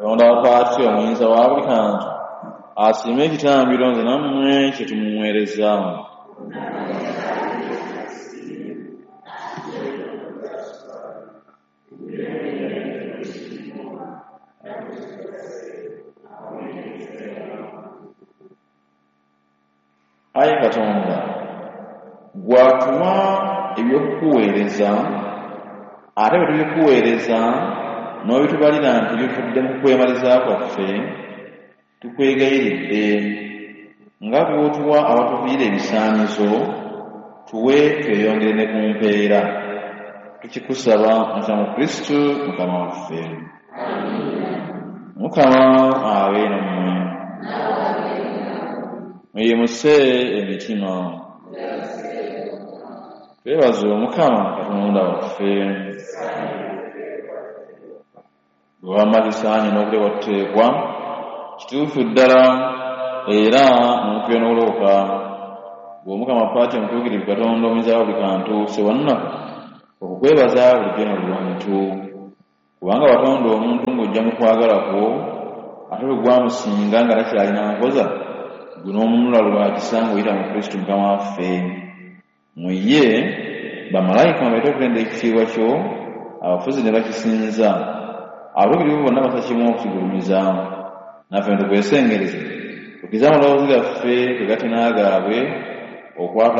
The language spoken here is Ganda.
Katonda wa Paati omuyinza wa buli kantu asiime ekitambiro nze nammwe kye tumuweereza. Ayi Katonda, gw'atuwa eby'okukuweereza, ate bwe tubikuweereza n'obitubalira nti bivudde mu kwemaliza kwaffe, tukwegayiridde nga bw'otuwa awatuviira ebisaanyizo, tuwe tweyongere ne ku mpeera. Tukikusaba muyita mu Kristu Mukama waffe. Mukama abe nammwe. Muyimuse emitima. Twebaze Omukama Katonda waffe. Bwe wamma kisaanye n'okulebwa tuteekwa, kituufu ddala era n'okuya n'okulokoka. Ggwe Omukama Paati omutuukirivu Katonda omuyinza wa buli kantu, Ssewannaku, okukwebaza bulijjo na buli wantu. Kubanga watonda omuntu ng'ojja mu kwagala kwo, ate bwe gwamusinga nga takyalina nkoza, ggwe n'omununula lwa kisa ng'oyita mu Kristu Mukama waffe. Mu ye bamalayika mwe bayita okutenda ekitiibwa kyo, abafuzi ne bakisinza, abatuukirivu bonna bassa kimu okukigulumiza. Naffe ne tukwesengereza, tukkirize amaloboozi gaffe twegatte n'agaabwe okwatula